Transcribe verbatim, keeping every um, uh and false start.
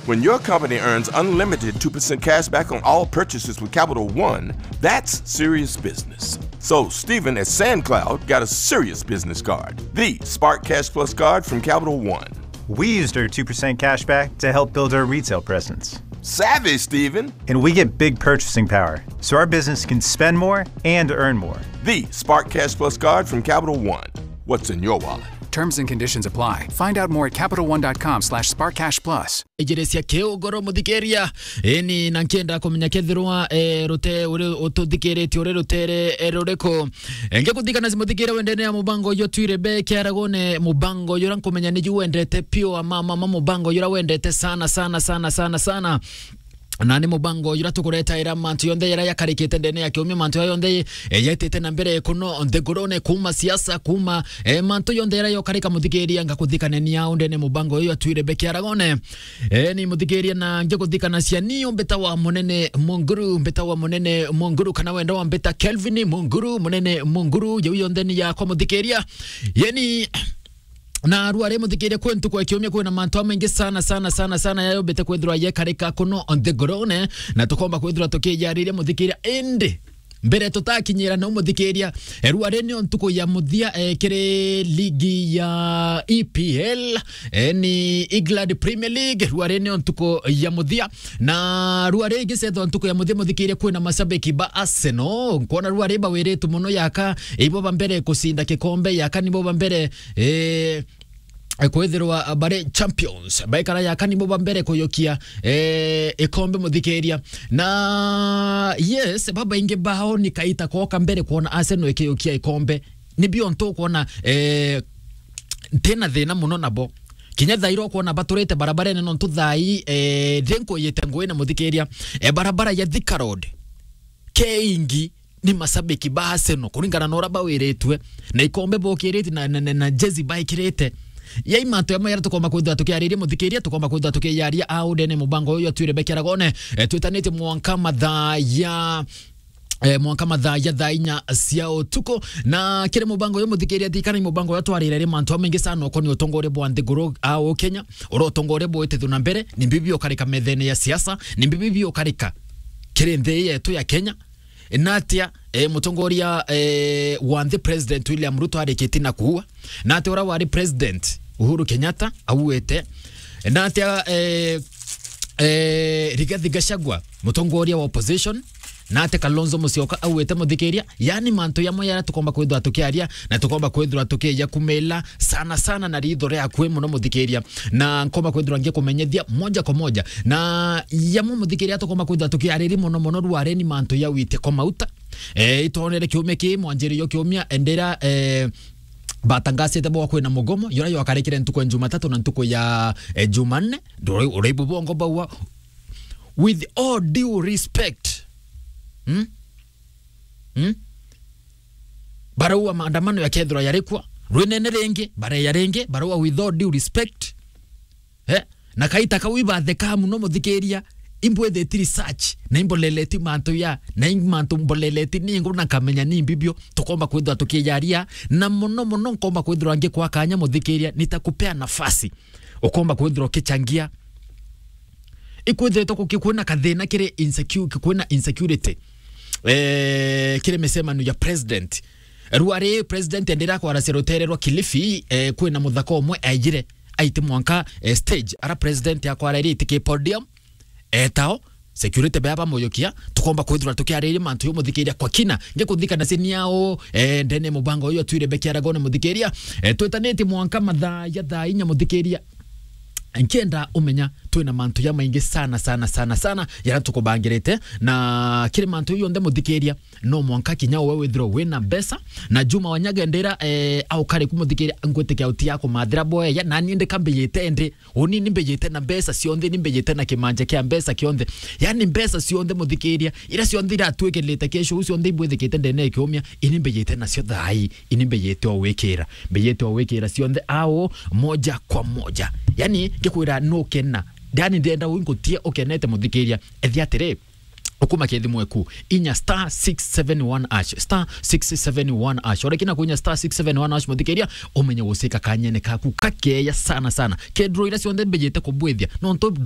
When your company earns unlimited two percent cash back on all purchases with Capital One, that's serious business. So, Stephen at SandCloud got a serious business card, the Spark Cash Plus card from Capital One. We used our two percent cash back to help build our retail presence. Savvy, Stephen. And we get big purchasing power, so our business can spend more and earn more. The Spark Cash Plus card from Capital One. What's in your wallet? Terms and conditions apply. Find out more at capital one dot com slash spark cash plus. Ijiria cia kiugoro, muthikiria. Eni, na nkienda kumenya kethirwa, eh, rute-, uri ututhikiritie uri rutere, eh, ruriku. Eh, ngikuthikana si muthikiria wendene ya mubango uyu twire be kiaragone, mubango uyu uria nkumenya ni ju wendete pio, ama, ama, ama mubango uyu uria wendete sana, sana, sana, sana, sana. Na ni mubango uyu uria tukuretaira mantu yonthe yaria yakarikite ndene ya kiumia, mantu yaria yonthe, eh, yaitite na mbere kuno nthigurune, kuuma siasa, kuuma, eh, mantu yonthe yaria yokarika, muthikiria, ngakuthikanenia undene mubango uyu atwire be kiaragone. Eh, ni muthikiria na ngikuthikanacia ni umbita wa munene Munguru, umbita wa munene Munguru, kana wenda wa mbita Kelvin Munguru, munene Munguru, jau yonthe ni yakwa muthikiria. Yeni, na rua ri muthikiria, kwi ntuku ya kiumia kwina mantu amaingi sana, sana, sana, sana yayombite kwithirwa yekarika kuno nthigurune, na tukomba kwithirwa tukijariria muthikiria, indi mbere tutakinyira nau muthikiria, eh, rua ri nio ntuku ya muthia, eh, kiri ligi ya E P L, eh, ni England Premier League, rua ri nio ntuku ya muthia, na rua ri igicethwa ntuku ya muthia muthikiria, kwina mashabiki ba Arsenal, nkwona rua ri bawiritu muno yaka ibo ba mbere kucinda kikombe, yaka nibo ba mbere, eh, eh, kwithirwa bari champions, baikara yaka nibo ba mbere kuyukia, eh, ikombe muthikiria. Na yes, babaingi bao ni kaita koka mbere kwona Arsenal ikiyukia ikombe. Ni bio ntu kwona, eh, ntina thina muno nabo. Kinya thaira ukwona baturite barabarene nontu thai, eh, thi nkuyite ngugi na muthikiria, eh, barabara ya Thika Road. Keingi ni mashabiki ba Arsenal, kuringana na uria bawiritue, na ikombe bokirite na, na, na, na jezi baikirite. Yai mantu jamwe jaria tukomba kwithirwa tukiariria muthikiria, tukomba kwithirwa tukiyaria au ndene mubango uyu atwire be kiaragone, eh, twitanitie mwanka mathaa ya, eh, mwanka mathaa ya thaa inya cia utuku. Na kiri mubango uyu muthikiria, thikana i mubango uyu twarire ri mantu jamaingi sana ukonie utongoria bwa nthiguru au Kenya, uria utongoria bwitithwe na mbere, ni mbibi ukarika methene ya siasa, ni mbibi ukarika kiri nthi yetu ya Kenya. Natia, eh, mutongoria, eh, wa nthi President William Ruto arikitie na kuua? Natia uria wari President Uhuru Kenyatta auite? Natia, eh, eh, Rigathi Gachagua, mutongoria wa opposition? Natia Kalonzo Musyoka auite muthikiria? Yani mantu jamwe jaria tukomba kwithirwa tukiaria na tukomba kwithirwa tukija kumila sana sana na ritho ria akui muno muthikiria, na nkomba kwithirwa ngikumenyethia moja kwa moja. Na jamwe muthikiria tukomba kwithirwa tukiariria muno muno rwareni mantu ja witiko mauta. Eh, itonere kiumia ki mwanjiririo kiumia ndira, eh, batangasite bwa kwina mugomo, yura ywakarikire ntuku ya Jumatatu na ntuku ya, eh, Jumanne. Nduri-, uraibu bongo baua, with all due respect. Hmm? Hmm? Baraua maandamano yakethirwa yarikwa, rwinene ringi, bareya ringi, baraua with all due respect. Eh? Na kaita kau ibatheka muno muthikiria, imbwithiti research, na imboleleti mantu ya, na i mantu mboleleti ningu na nkamenya ni mbibio, tukomba kwithirwa tukijaria, na muno muno nkomba kwithirwa ngikwa kanya muthikiria, nitakupea nafasi, ukomba kwithirwa ukichangia. Ikwithiritwe kuki-, kwina kathina kiri insecu-, kwina insecurity, eh, kiri micemanio ya president. Rua ri president endira kwaracia rutere rwa Kilifi, eh, kwina muthaka umwe aijire, aiti mwanka, eh, stage, ara president akwaraire iti ki podium, etao, security bea bamujukia, tukomba kwithirwa tukiariria mantu yo muthikiria kwa kina. Ngikuthikana sini ao, eh, ndene mubango uyu atwire be kiaragone muthikiria. Eh, twitanitie mwanka mathaa ya thaa inya muthikiria. Nkienda umenya twina mantu jamaingi sana, sana, sana, sana, jaria tukubangirite. Na kiri mantu yonthe muthikiria, no mwanka kinya uwe withirwe wina mbeca. Na Juma Wanyaga ndira, eh, aukari kumuthikiria, ngwitikia uti ya kumathira boeya, nani ndika mbijite ndi, uni ni mbijite na mbeca cionthe, ni mbijite na kimanja kia mbeca kionthe. Yani mbeca cionthe muthikiria, ira cionthe iratwikirite kesho, u cionthe ibwithikite ndene ya kiumia, ini mbijite nacio thai, ini mbijite o wikira, mbijite o wikira cionthe ao moja kwa moja. Yani ngikwira nukena, yani ndenda wingutie ukenete muthikiria, ethi atiri, ukuma kethimo eku, inya star six seven one hash, star six seven one hash. Orekina kuinya star six seven one hash muthikiria, umenye gucika kanyene kaku kakeya sana sana. Kedro ira cionthe mbijite kubwithia, nontu dro